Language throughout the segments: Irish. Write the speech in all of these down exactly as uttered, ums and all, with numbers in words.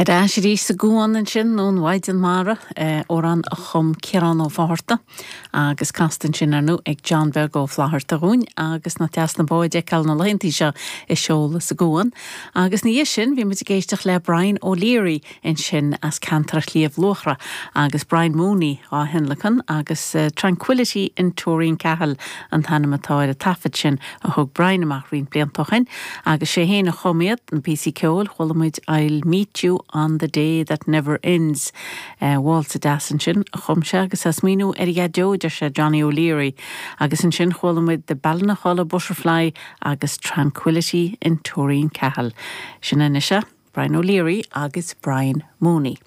Ar ais arís sa gCuan ansin ón Mhaighdean Mhara amhrán a chum Ciarán Ó Fátharta agus casta ansin ar ndóigh ag John Beag Ó Flatharta dhúinn agus nach deas na báid a fheiceáil na laethanta seo ag seoladh sa gCuan. Agus ina dhiaidh sin bhí muid ag éisteacht le Brian O'Leary ansin as ceantar Shliabh Luachra agus Brian Mooney á thionlacan agus uh, Tranquility in Tooreen Cahill an t-ainm atá ar an taifead sin a thug Brian amach roinnt blianta ó shin agus sé féin a chum iad na píosaí ceoil chuala muid I'll meet you on the day that never ends. Uh, Válsa deas ansin a chum sé agus as míú ar dheaideo sé Johnny O'Leary agus ansin chuala muid the Ballinachola Butterfly agus Tranquility in Tooreen Cahill. Sin anois Brian O'Leary agus Brian Mooney.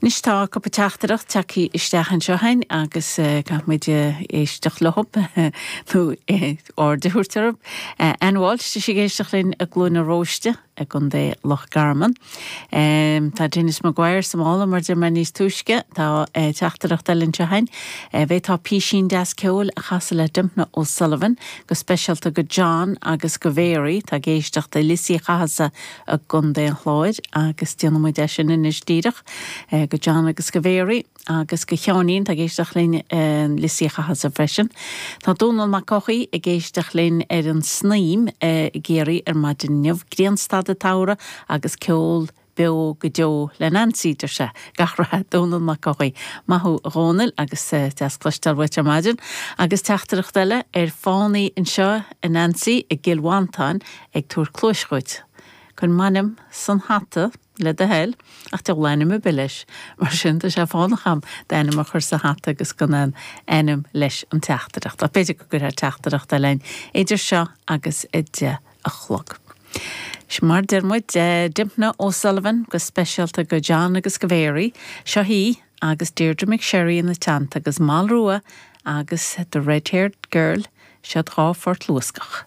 Anois tá cúpla teachtaireacht tagtha isteach anseo againn agus uh, caithfimid éisteacht leo nó aird a thabhairt orthu. Ann Walsh tá sí ag éisteacht linn i gCluain na Róiste i gContae Loch Garman. Um, tá Dennis Maguire sa mála mar de mar níos túisce tá uh, teachtaireacht eile anseo againn. Uh, bheith tá písín deas ceoil a chasadh le Dympna O'Sullivan go speisialta go John agus go Mary tá ag éisteacht i Lios Uí Chathasaigh i gContae an Chláir agus déanfaimid é sin anois díreach uh, go John agus go Mary agus go Sheáinín tá ag éisteacht linn Lios Uí Chathasaigh freisin. Tá Dónal Mac Eochaidh ag éisteacht linn ar an Snaidhm i gCiarraí ar maidin inniu grianstad an tsamhraidh agus ceol beo go deo le Nancy deir sé gach rath Dónal Mac Eochaidh Maith thú a Dhónaill agus deas cloisteáil uait ar maidin, agus teachtaireacht eile ar fánaí anseo a Nancy i gCill Mhantáin ag tabhairt cluais dhuit. Cuir m'ainm san hata le do thoil ach deil ainm ar bith leis mar sin tá sé fánach agam d'ainm a chur sa hata agus gan an ainm leis an teachtaireacht. A b'fhéidir go gcuirfear teachtaireacht eile idir seo agus a deich a chlog. Mar deir muid Dympna O'Sullivan go speisialta go John agus go Mary, seo hí agus Deirdre McSherry ina teannta agus Malrua agus the Red-Haired Girl siad dhá phort luascach.